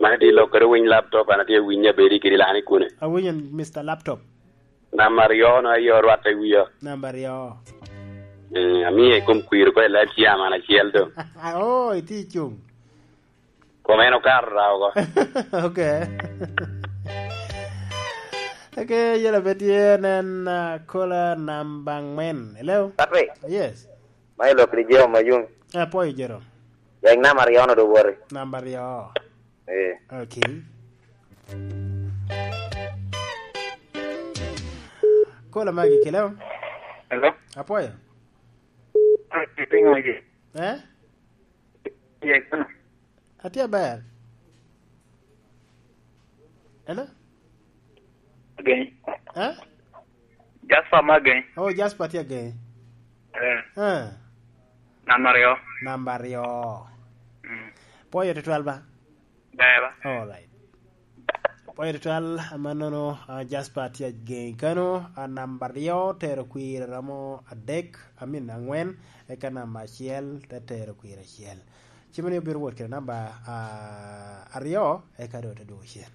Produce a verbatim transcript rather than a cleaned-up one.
An atye lok kede winy laptop, an atye winyo abedi kede lani kune. Awinyo, Mister Laptop. Namba aryo no aye orwatte i wia. Namba aryo. Eh, amiye i kom kwir ko i live chairman acel do. Oh, itye i cung. Kom en okato ra oko. Okay. Okay, yela be tye nen, ah, kola namba angwen. Hello? Patrick. Yes. Ma ilok ni Jerome Mayung. Eh, apwoyo Jerome. Wek namba aryo no do woti. Namba aryo. Eh. Okay. Kola magi kelo. Hello? Apwoyo. Pingo ye? Eh? Ye, kono. Atye aber. Hello? Ageny. Eh? Jasper me ageny. Oh, Jasper tye ageny. Eh. Eh. Namba aryo. Namba aryo. Mm. Pwoyo tutwal ba? Ber ba? All right. Pwoyo tutwal, amannono, ah, Jasper tye ageny kano, ah, namba aryo tero kwir romo adek, I mean, angwen, eka namba acel te tero kwir acel. Cimoni obiro wot kede namba, ah, aryo, eka doŋ te dwogo cen.